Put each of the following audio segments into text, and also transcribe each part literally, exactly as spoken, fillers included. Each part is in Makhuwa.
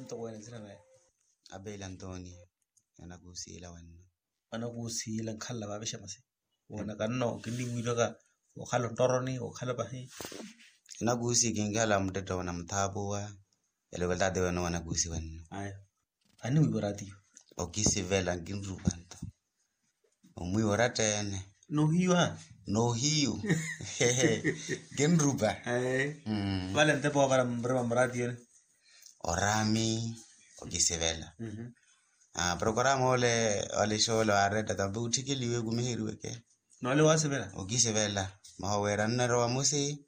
Toko wene nzira naye. Abeli antonio. Anakusiila wenno. Anakusiila nkhala vavexa masi. Wona kanno kinniwiilwaka. Okhala ontoroni okhala pahi. Anakusi kinkhala muttetta wona muthaapuwa. Eloko litaati wene wanakusi wenno. Aya. Aniwiiwa ratiyo. Okisivela nkinrupa nto. Omwiiwa oratta ene. Nohiyu. Nohiyu. Kinrupa. Vale ntepa wavara mrima mratiyoni. Orami. Okisivela. Programa ole. Ole xoola waaretta tampe utthikiliwe kumiheriweke. Nole waasivela. Okisivela. Maho wira nnerowa musi.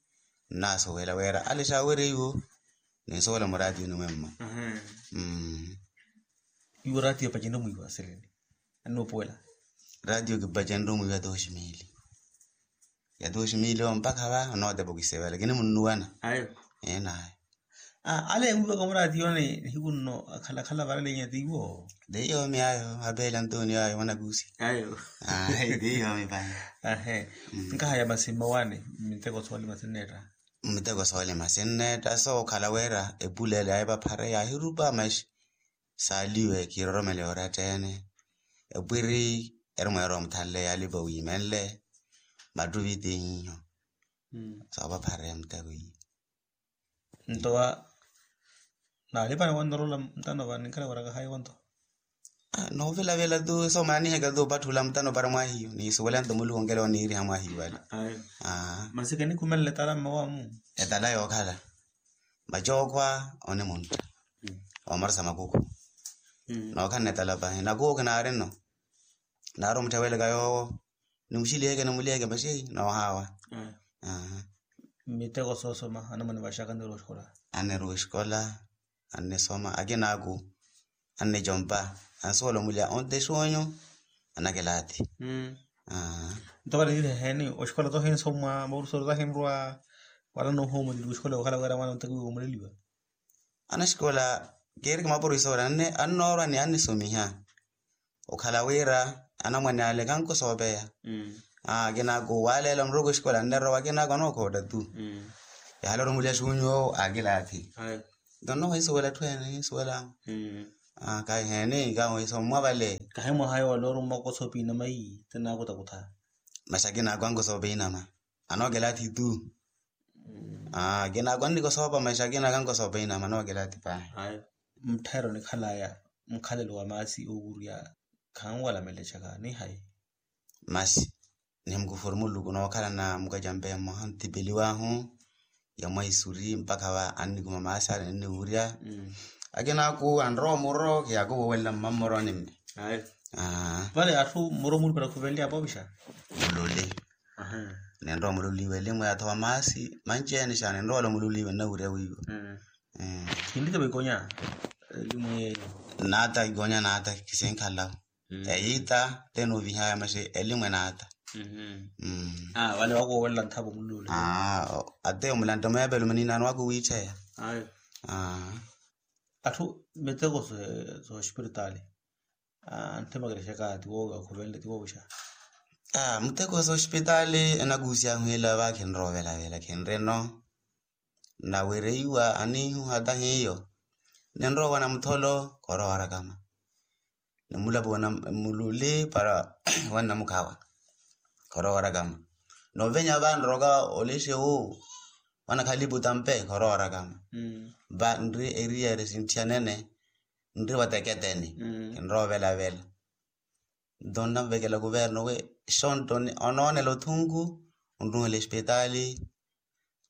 Nnaasuwela wira ale xaawereiwo. Ninsuwela muratiyoni mwemma. Iwo ratiyo pacinre mwiiwa seleni. Annuupuwela. Ratiyo kipacenre omwiiwa ya dos mili. Ya dos mili ompakha va onootepa okisevela kinimunnuwana. Ayo. Enayo. Ale wiiwaka muraatiyo nihiku nno akhalakhala varalenya tiiwo. Teiyomi ayo apeela ntuuni ayo mwanakusi. Ayo. Teiyomi pahi. Ahe. Nkahaya masi mmawaani. Miteko soolima sinneetta. Miteko soolima sinneetta sookhala wira epuleele ayo epaphare yaahirupa maxi. Saaliwe kiiroromele oratta ene. Epwiri eri mweera omuthanle yaalipa wiimenle. Mattuvi tiiho. Soopaphare muteko iyo. Nto va naalipana wanrorola mutano va ninkhala wira kahayi wanto. Noovilavila tu somaniheka tu opatthula mutano para mwahiyo niisuwela nto muluku onkela oniiriha mwahiyo ale. Masi kanikhumelela etala mmawamu. Etala yookhala. Macookhwa onimuntta. Omarisa makuku. Nookhanna etala pahi nakuwo kinaarino. Naari omuttheweleka yoowo. Nimuxiliheke nimuliheke maxi noohaawa. Miteko soosoma anamwane vaxaka annirowa oxikola. Annirowa oxikola. Annisoma akinaaku. Annicompa. Ansuwela omuliha onte exuunyu. Anakilaathi. Nto vale niiriha eheeni oxikola tohinsomwa maurusoru tahinrwa. Wala noohomoleliwa oxikola okhala wira mwaana ontakiwiwa omuleliwa. Anaxikola keeriki mapurisoori annoorwa ni annisomiha. Okhala wira anamwane ale kankusoopeya. Akinaaku waaleela muruku exikola annirowa akinaaku anookhootta tu. Yahala orumuliha xuunyu owo akilaathi. Nto nnohisuwela atthu ene nisuwela. Kahiheeni kahisommwa vale. Kahi mwaha yoola orumwa okosoopa inama iyi tinaakutakutha. Maxi akinaaku ankusoopa inama. Anookilaathi tu. Akinaaku annikosoopa maxi akinaaku ankusoopa inama anookilaathi pahi. Mutthayero nikhalaya mukhalelo wa maasi owurya khanwala melecaka ni hayi. Masi. Nihimukufuru muluku nookhalana mukacampe mmoha ntipeliwahu. Ya mwaisuri mpakha va annikuma maasi ale ninniwurya. Akinaaku anrowa muro kiyakuvuwelela mmammoroni mme. Vale atthu muro mulupela khuvenly'apo ovixa. Mululi. Ninrowa mululi w'elimwe athowa maasi manci-ene xa ninrowela mululi wennawurya wiiwa. Khinlitepa ikonya elimu yeeyo. Naata ikonya naata kisinkhala. Eyiita tene ovihaya maxi elimu enaata. Vale wakuwowelela nthapo mululi. Ateyo mulantte mweepelo maninaano wakuwiitttheya. Atthu miteko sooxipiritaali. Antthimaka erexaka tiwoowixa. Muteko sooxipitaali enakuusiya ahwiila va khinroovela-vela khinrino. Nawereiwa aniihu hata hiyo. Ninrowa wanamutholo khorowa orakama. Nimulapo wanammululi para wanamukhawa. Khorowa orakama. Novenya va nroka olexe wu wanakhalipu tampe khorowa orakama. Va nri eriyari sintthiyanene. Nri vateketeni. Kinroovela-vela. Nto nnamuvekela kuverno we xonto onoonela othunku. Onruhela espitaali.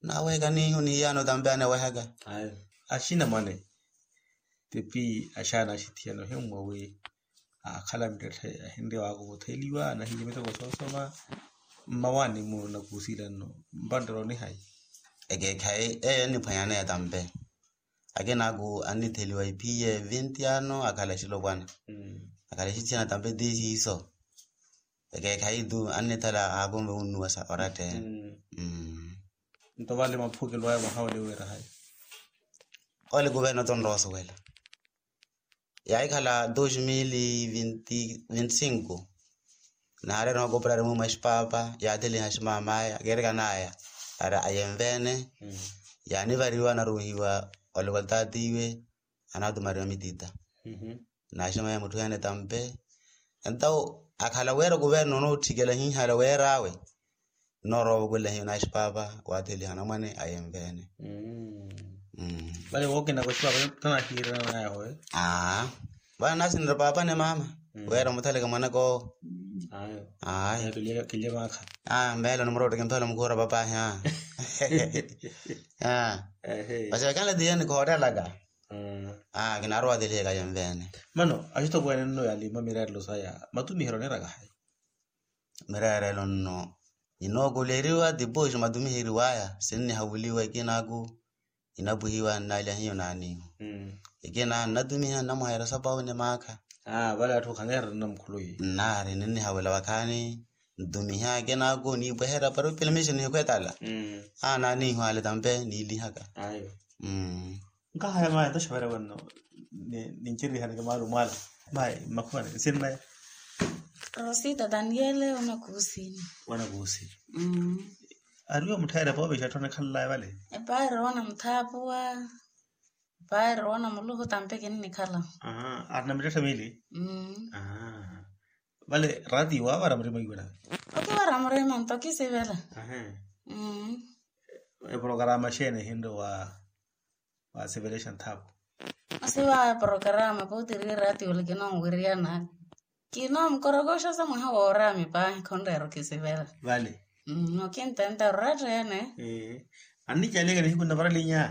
Naweeka niihu nihiyaano tampe anewehaka. Axina mwane. Tipi axaana axithiyano himmwa wi akhala mittetthe ahinriya waakuvutheliwa nahiiye miteko soosoma. Mmawaani muno nakuusiila nno mpanttelo nihayi. Ekeekhayi eyo enniphwanyaneya tampe. Akinaaku annitheliwa ipiye vinti ano akhala exilopwana. Akhala exithiyana tampe ti siiso. Ekeekhayi tu annithala aakunve wunnuwasa oratta ene. Nto vale maphukelo aya mwaha ole wira hayi. Ole kuverno tonrowa osuwela. Yaahikhala dos mil vinti cinco. Naareera okoperari mumwe axipapa yaatheliha aximamaya keerikanaya. Ara ayenveene. Yaanivariwa anaruuhiwa oloko taatiiwe. anatumariwa mitita. Naximaya mutthu ene tampe. Entawo akhala wira kuverno nootthikela hihala wir'awe, noorowa ovukula hiyo naxi paapa waatheliha anamwane ayenvene. Vale wookina koxiwa tanahiirana nayahoyo. Aa vale nasinira paapa ni mama wira muthaleke mwanakoowo. Ayo. Ayo. Kilye maakha. Aa mmeelo ni murowa otteke mpelo mukhuura papahi aa. Aa. Ehe. Masi vakanle tiye nikhoottelaka. Aa kinarowa telihe kayenvene. Mano axitokweene nno yalima mireerelo saya matumihelo niiraka hayi? Mireerelo nno ninookuleriwa tipuxi matumiheriwaya sinnihavuliwa ekinaku. Inapwihiwa nnalya hiyo naaniihu. Ekina nnatumiha nnamwaheera sapawu ni maakha. Vale atthu khaneererana mukhuluyi. Nnaari ninnihawela vakhaani ntumiha ekinaaku niipweherya para opila miixo nihikhwetala. Aa naaniihu ale tampe niilihaka. Nkahaya maaya ntoxeverya wanno. Ninchirihaneke maalumo ala. Mayi mmakhuwani nsinnaye. Rosita daniele wanakuusini. Wanakuusini. Ariwo mutthayereya poopixa atthu anakhalalaye vale. Epaari wanamuthaapuwa. Epaari wanamuluhu tampe kinnikhala. Arina mittetta miili. Vale raatiyo waavara murima iwela. Okiwara murima nto kisivela. Eprokarama xeeni ehinre wa waasivelexa nthaapu. Masi vaawe prokarama pootiri eraatiyo ole kinonwiriyana. Kinoomukorokoxa sa mwaha wooraami paahi khonreera okisivela. Vale. Okintenta orattene. Annicaliyaka nihiku nnavaralinya.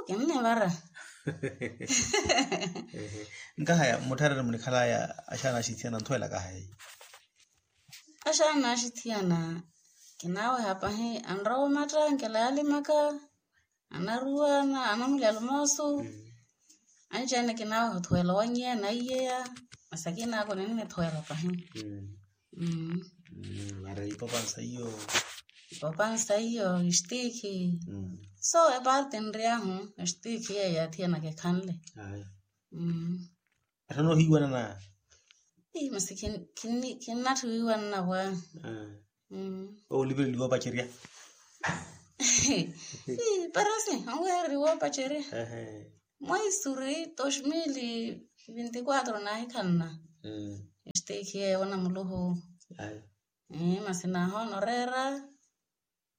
Kinnivara. Nkahaya muttharere munikhalaya axaana axithiyana nthuwela kahaya. Axaana axithiyana kinaaweha pahi anrowa omatta nkela yalimaka. Anaruwa anamulya alumoosu. Anci-ene kinaaweha othuwela owanyiya naiyeya. Masi akinaako ninnithuwela pahi. Mara ipopansa iyo. Ipopansa iyo istiikhi. So epaarti nriyaahu istiikhi yeeyo yathiyanaka ekhanle. Atthu anoohiiwanana. Masi kinnatthu wiiwanana pwaa. Owo oliveliwa opacerya. Parasi onwehereriwa opacerya. Mwaisuri dos mil vinti quatro naahikhanna. Estekhi yeeyo wanamuluhu. Masi naahoonoreera.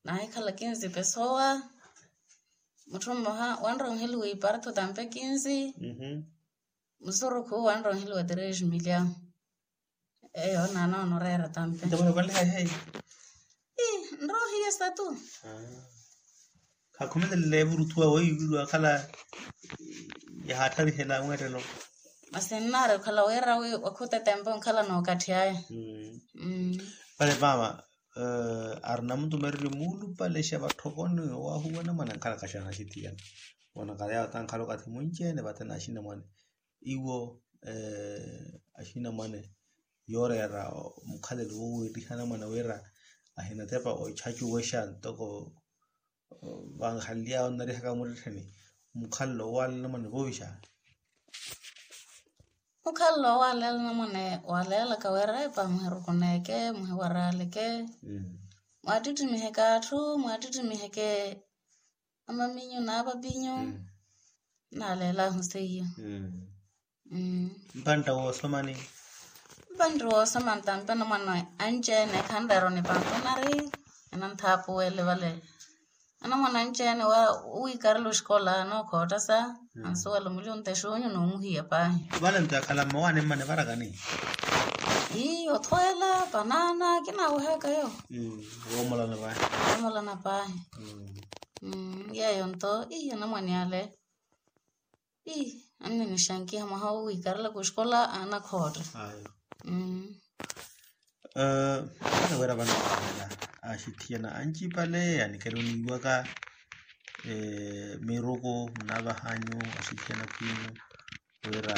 Naahikhala kinzi pesowa. Mutthu mmoha wanronheliwa ipartho tampe kinzi. Musurukhu wanronheliwa tres million. Eyo naanoonoreera tampe. Nrohiya satu. Khakhumelele evuruthuwa weiwiriwa akhala yahaattharihela mweettelo. Masi nnaari okhala wira wi wakhutetempa onkhala nookatthi aya. Vale maama. Ari namutumererye muulupalexa vatthokoni owaahuwa anamwane ankhalaka xaana axithiyana. Onakhala yawo tankhala okathi mwinci-ene vate na axinamwane. Iwo axinamwane yooreera mukhalelo woweettiha anamwane wira ahinatepa ochacuwexa ntoko vanhaliy'awe onnarihaka muttettheni. Mukhalelo owaala anamwane voovixa. Mukhalelo owaaleela anamwane waaleelaka wira epa muhirukuneke muhiwaraaleke. Mwaattittimihe kaatthu mwaattittimihe ke amaminyu n'apapinyu. Naaleelahu seiyo. Mpantta woosomani. Mpantti woosomani tampe anamwane anci-ene khanreera onipampa onari. Enanthaapuwele vale. Anamwane anci-ene owiikarela oxikola anookhoottasa. Ansuwela omulya ontexuunyu n'omuhiya paahi. Vale nto yakhala mmowaani mmane varakani. Ii othweela panaana kinaawehaka yo. Woomolana paahi. Woomolana paahi. Yeeyo nto ii anamwane ale. Ii anninixankiha mwaha owiikarelaka oxikola aanakhootta. Aana wira vano axithiyana ancipale anikela oniiwaka. Miruku munaavahanyu axithiyana khwiinyu wira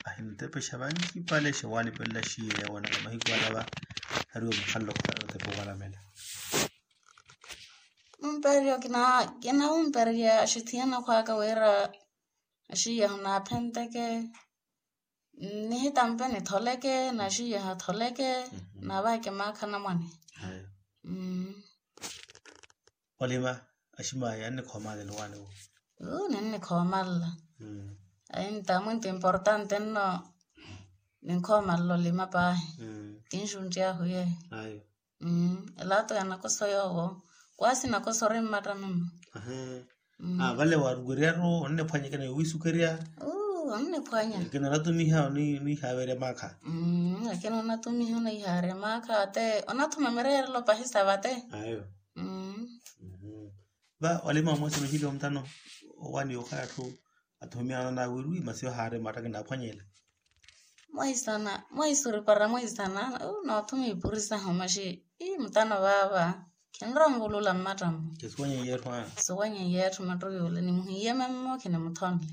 ahinatepexa vancipale xewalipelela xiyeya wanaka mahiku alava. Hariwe mukhalelo khutana otepa owalamela. Mumpererya kinaumpererya axithiyana khwaka wira axiyeha onaaphenteke. Nihitampe nitholeke naxiyeha atholeke. Naavaheke maakha anamwane. Olima aximaayi annikhoomalelo waani wo. Ninnikhoomalela. Ayi nta mwintu importante nno. Ninkhooma nlolima paahi. Tinxuntti ahu yeeyo. Elato yanakoso yoowo. Kwasi nakoso ori mmatta mimmo. Vale waaruweryaru onnephwanya ekina yoowisukerya. Onnephwanya. Ekina onatumiha onihawerya maakha. Ekina onatumiha onihawerya maakha ate onathuma mireerelo pahi sa vate. Ayo. Va walima wamwesana ohili omutano. Owani okhala atthu athumiyanana wiriwi masi ohaari matta kinaaphwanyela. Mwahisana mwahisuripara mwahisana. Noothuma ipuri sahu maxi. Ii mutano vaava. Khinrowa onvulula mmatta mmo. Kisuwanye yeetthu a. Suwanye yeetthu mattu yule nimuhiye memmo khinimuthonle.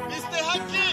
Mister haki.